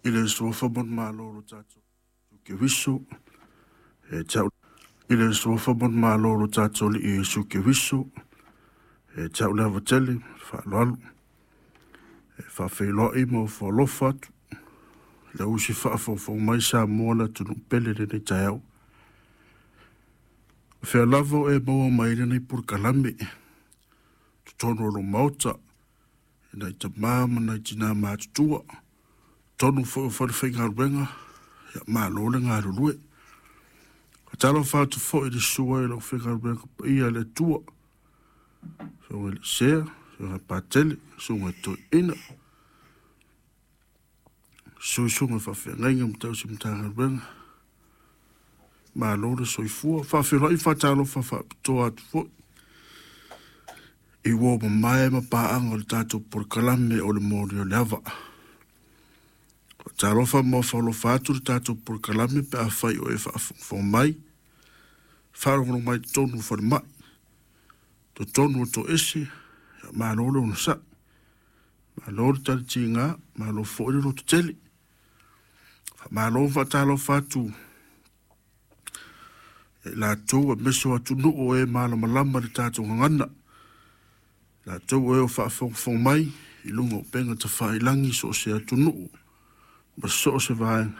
I le suafa ma le Malo o lo tatou Keriso, e te au i le suafa ma le Malo o lo tatou Alii Iesu Keriso, e te au le ava tele, faaaloalo, e faafeiloai ma ofo alofa atu i lau usi faafogafoga mai Samoa le atunuu pele i lenei taeao. O fea lava o e maua mai ai lenei polokalame, totonu o lou maota, i nai tama ma nai tina matutua, totonu foi o falefaigaluega, ia malo le galulue. Faatalofa atu foi i le susu ai o le aufaigaluega paia a le Atua, Susuga i le Sea, Susuga i le Patele, Susuga i Toeaina, susu susuga i faafeagaiga ma tausi Matagaluega, malo le soifua. Faafeiloai ma faatalofa faapitoa atu foi i uo mamae ma paaga o le tatou polokalame o le Moli o le Ava. Faatalofa ma ofo alofa atu le tatou polokalame pe afai o e faafogafoga mai, faalogologo mai i totonu o falemai, totonu o toese, ia malo le onosai, malo le talitiga, malo foi le lototele. Faamalo ma faatalofa atu ia i latou aemaise o atunuu o e malamalama i le tatou gagana, latou o e o faafogafoga mai i luga o upega tafailagi i so o se atunuu ma so o se vaega.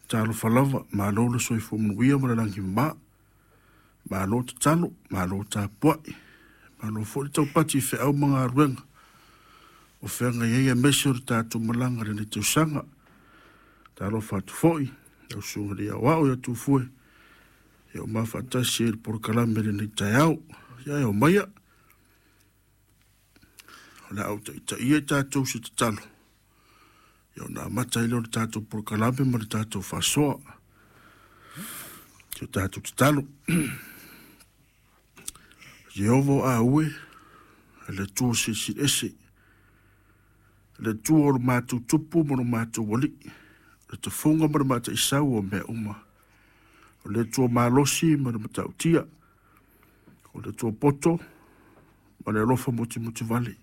Talofa lava, malo le soifua manuia ma le lagi e mama, malo tatalo, malo tapuai, malo foi le taupati i feau ma galuega o feagai ai, aemaise o le tatou malaga i lenei tausaga. Talofa atu foi i lau Susuga i le Aoao ia Tufue, ia ua ma faatasi ai i le polokalame i lenei taeao. Ia e omaia, o le a ou taitaia i tatou i se tatalo, ia ona amata ai lea o le tatou polokalame ma le tatou faasoa. Si o tatou tatalo. Ieova o aue, le Atua Silisili Ese, le Atua o lo matou Tupu ma lo matou Alii, le tafuga ma le mataisau o mea uma. O le Atua malosi ma le matautia, o le Atua poto ma le alofa mutimutivale.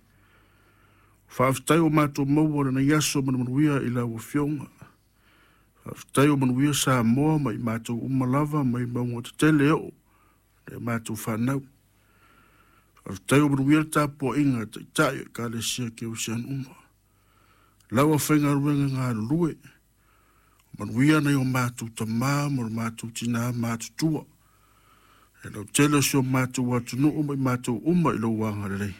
Faafetai ua matou maua lenei aso ma le manuia i lau Afioga. Faafetai ua manuia Samoa ma i matou uma lava mai mauga tetele e oo i a matou fanau. Faafetai ua manuia le tapuaiga a Taitai o Ekalesia Kerisiano uma. Lau afaigaluega galulue, manuia nai o matou tama ma o matou tina matutua. E lautele o si o matou atunuu ma i matou uma i lou agalelei.